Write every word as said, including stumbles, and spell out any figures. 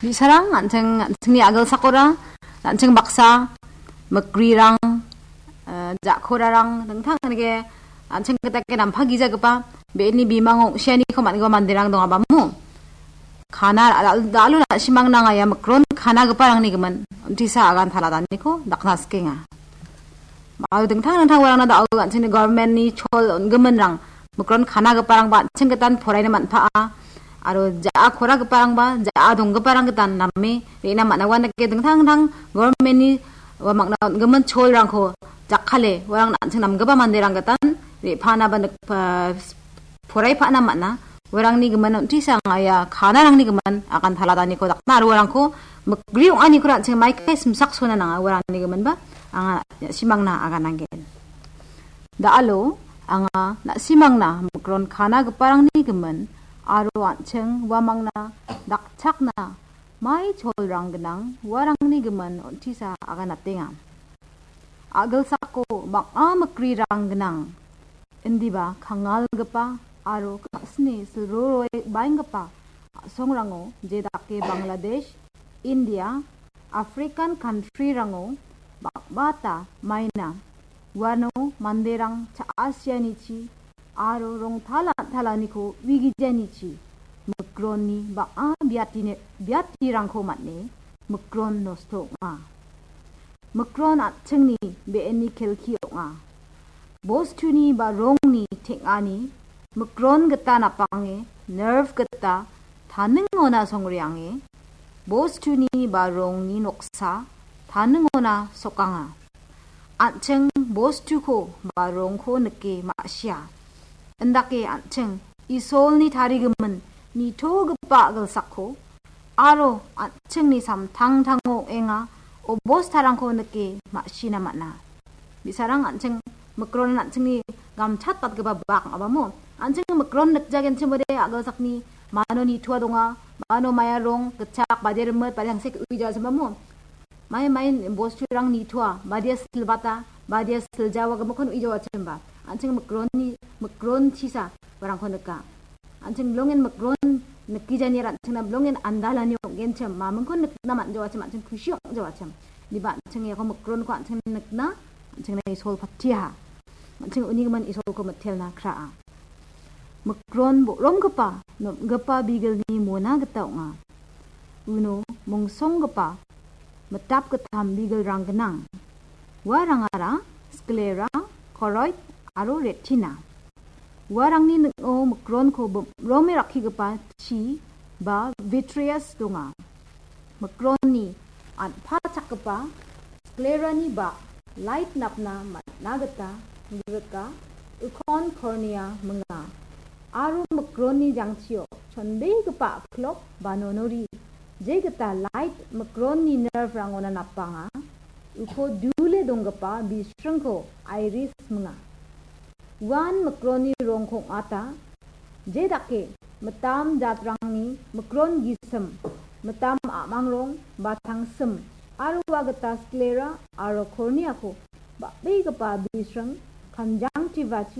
Bi·sarang an·ching, an·chingni agilsakora, an·ching baksa, mikrirang, eh, ja·korarang, dingtang dake an·ching gita ke nampagijagipa, be·eni bimango ong·sianiko man·gipa manderang dongabamo. Kana, da-, da-, da·alo na·simang nangaya mikron kanagiparangni gimin, untisa agan taladaniko dakna sikenga. Aro dingtang dingtang uarangna da·o an·chingni government-ni chol on·giminrang, mikron kanagiparangba an·ching gitan poraina man·paa. Aro ja·a koragiparangba, ja·a donggiparang gitan name re·na man·a. Uandake dingtang dingtang government-ni uamangna on·gimin cholrangko jakkale, uarang an·ching namgipa manderang gitan re·panaba nik-, pa-, porai pa·na man·a. Uarangni gimin on·tisa anga ia kanarangni gimin agan taladaniko dakna aro uarangko mikri ong·aniko an·ching maikai simsaksona nanga uarangni giminba anga na·simangna agananggen. Da·alo anga na·simangna mikron kanagiparangni gimin aro an·ching uamangna dakchakna mai cholrang gnang uarangni gimin on·tisa aganatenga. A·gilsako bang·a mikrirang gnang. Indiba kangalgipa aro ka·sni silroroe baenggipa a·songrango jedake Bangladesh, India, African country-rango bang·bata maina. Uano manderang cha·asianichi aro rongtala an·talaniko uigijanichi mikronni bang·a biatine-, biatirangko man·e mikron nosto ong·a. Mikron an·chingni be·enni kelki ong·a. Bostuni ba rongni teng·ani mikron gita napange, nerve gita taningona songreange, bostuni ba rongni noksa taningona sokanga. An·ching bostuko ba rongko nike ma·sia. Indake an·ching Isolni tarigimin nitogipa a·gilsakko aro an·chingni samtangtango ong·enga obostarangko nike ma·sina man·a. Bi·sarang an·ching mikronan an·chingni gamchatbatgipa bak ong·abamo. An·ching mikron nikjagenchimode a·gilsakni mano nitoa donga, mano maia rong gitchak, bade rimit, bade tangsek uija sembamo. Mai, mai bosturang nitoa, badia silbata, badia siljawa gimikkon uijawachimba. An·ching mikronni, mikron chisa barangko nika. An·ching bilongen mikron nikijani aro an·chingna bilongen andalani ong·genchim, mamingkon nikna man·jawachim, an·ching kusi ong·jawachim. Indiba an·ching iako mikronko an·ching nikna, an·chingna Isol patiaha. An·ching unigimin Isolko mitelna kraa. Mikron bo·romgipa, nomgipa bigilni mona gita ong·a. Uno mongsonggipa mitap gittam bigilrang gnang. Uarangara sclera, choroid aro retina. Uarangni ning·o mikronko bim-, rome rakkigipa chi ba vitreous donga. Mikronni an·pachakgipa sclerani ba light napna man·a gita grika, ukon cornea minga. Aro mikronni jangchio chonbegipa aklok ba nonori, jegita light mikronni nerve-rangona napanga, uko dule donggipa bisringko iris minga. Uan mikronni rongko ong·ata, jedake mitam jatrangni mikron gisim, mitam a·mang rong ba tangsim, aro ua gita sclera aro corneako bang·begipa bisring conjunctivachi